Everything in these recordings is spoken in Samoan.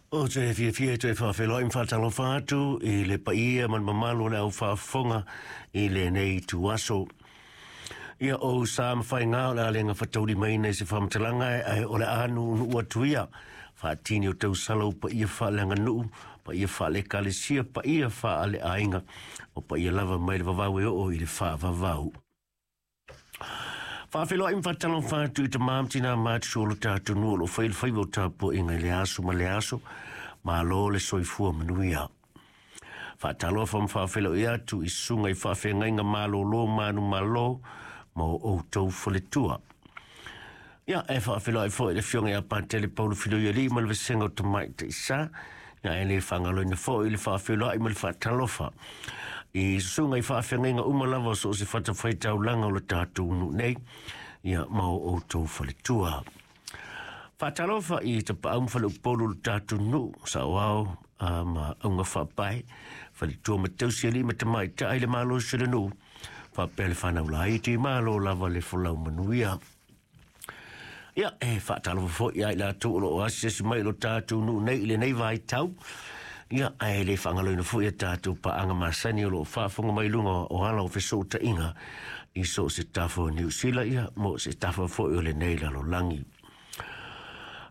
Ou te fiafia e toe faafeiloai ma faatalofa atu i le paia ma le mamalu o le au faafofoga i lenei ituaso. Ia o sa ma faiga o le a le gafataulimaina i se faamatalaga ae o le a nuunuu atu ia faatini o tausala o paia faaleaganuu, paia faale-ekalesia, paia faaleaiga, o paia lava mai le vavau e oo i le faavavau. Faafeiloai ma faatalofa atu i tamā ma tinā matutua o lo tatou nuu o lo o fai le faiva o tapuaiga i le aso ma le aso. Malo le soifua manuia. Faatalofa ma faafeiloai atu i susuga i faafeagaiga malolo manumalo ma o outou faletua. Ia, e faafeiloai foi i le Afioga ia Patele Paulo Filoialii ma le Vasega o Tamaitai Sa. Ia, e le faagaloina foi le faafeiloai ma le faatalofa i susuga i faafeagaiga uma lava o so o se fatafaitaulaga o le tatou nuu nei, ia, ma o outou faletua. Faatalofa i tapaau ma faleupolu o le tatou nuu, saoao ma auga faapae, faletua ma tausialii ma tamaitai le malosi o le nuu, faapea le fanau laiti, malo lava le folau manuia. Ia, e faatalofa foi ia i latou o lo o asiasi mai i lo tatou nuu nei i lenei vaitau. Ia, ae le faagaloina foi a tatou paaga masani o lo o faafofoga mai i luga o ala o fesootaiga i so o se tafa o Niu Sila, ia, mo se tafa foi o lenei lalolagi.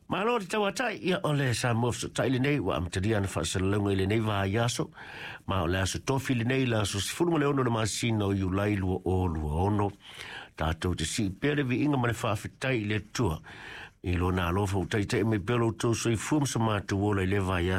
Malo le tauatai, ia o le Samoa Fesootai lenei ua amatalia ana faasalalauga i lenei vaiaso, ma o le aso tofi lenei, le aso 16 o le masina o Iulai 2026. Tatou te sii pea le viiga ma le faafetai i le Atua i lona alofa ua taitai mai pea lo outou soifua ma so matou ola i le vaiaso.